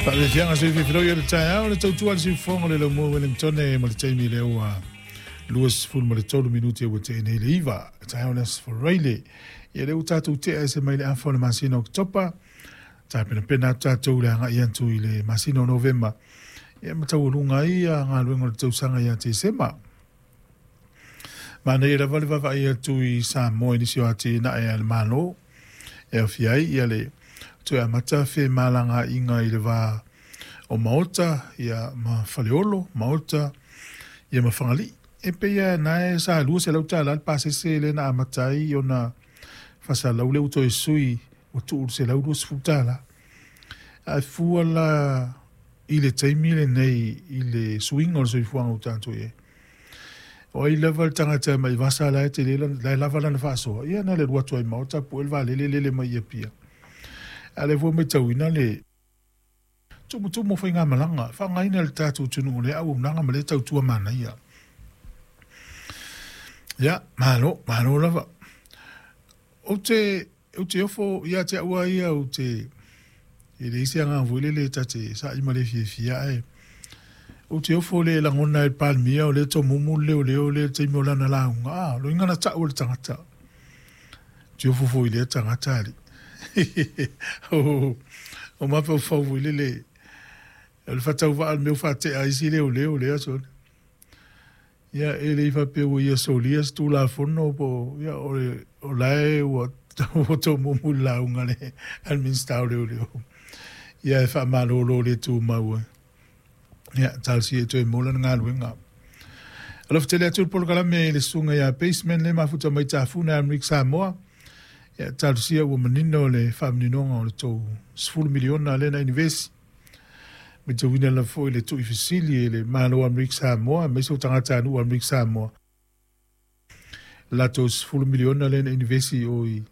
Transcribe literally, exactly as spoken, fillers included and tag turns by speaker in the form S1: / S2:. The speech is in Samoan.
S1: Faafiafiaga soifiafiloi o le taeao le tautua le siufofoga le laumua Wellingtone ma le taimi lea ua luasefulu ma le tolu minute ua tea nei le iva taeao le Aso Faraile. Ia lea ua tatou tea ese mai le afa o le masina o Oketopa, tapenapena atu tatou le agai atu i le masina o Novema, ia ma taualuga ai galuega o le tausaga ia Tesema. Manaia lava le vaavaai atu i Samoa i nisi o atinae a le Malo e aofia ai ia le toe amata femalagaaiga i le va o Maota ia ma Faleolo, Maota ia ma Fagalii. E pei lava na e sa lua selau tala le pasese lea na amata ai ona faasalalau lea ua toe sui ua tuu i le selau luasefulu tala. Ae fua la i le taimi lenei i le suiga o le soifuaga ua tatou i ai. O ai lava le tagata e mai vasa la e tele la e lava lana faasoa, ia na le alu atu ai Maota pue le vaalele lele mai i Apia. A o lea foi ua matauina le tumutumu o faigamalaga, faaaogaina e le tatou atunuu lea auaunaga ma lea tautua manaia. Ia, malo, malo lava. Ou te, ou te ofo ia te au lava ia, ou te, e leai se agaga foi lele ta te sa'i ma le fiafia, ae ou te ofo le lagona e le Palemia o lea e tomumu le leoleo lea i le taimi o lana lauga. A, loiga na ta'u e le tagata. Ou te ofo foi i lea tagata alii. O mafaufau foi lele, o le faatauvaa o le mea ua faatea ai isi leoleo lea sole. Ia, e le i faapea ua ia solia se Tulafono po o, ia, o le, o la e ua tomumu i le lauga a le Minisita o Leoleo. Ia, e faamalolo le tumau ai. Ia, talosia e toe maua lana galuega. Alofa tele atu le polokalame i le susuga ia Baseman le mafuta mai Tafuna Amerika Samoa. Ia, talosia ua manino le faamaninoga o le tou sefulu miliona lea na inivesi. Matauina lava foi le tuuifesili e le Malo o Amerika Samoa aemaise o tagatanuu o Amerika Samoa. Latou sefulu miliona lea na inivesi o i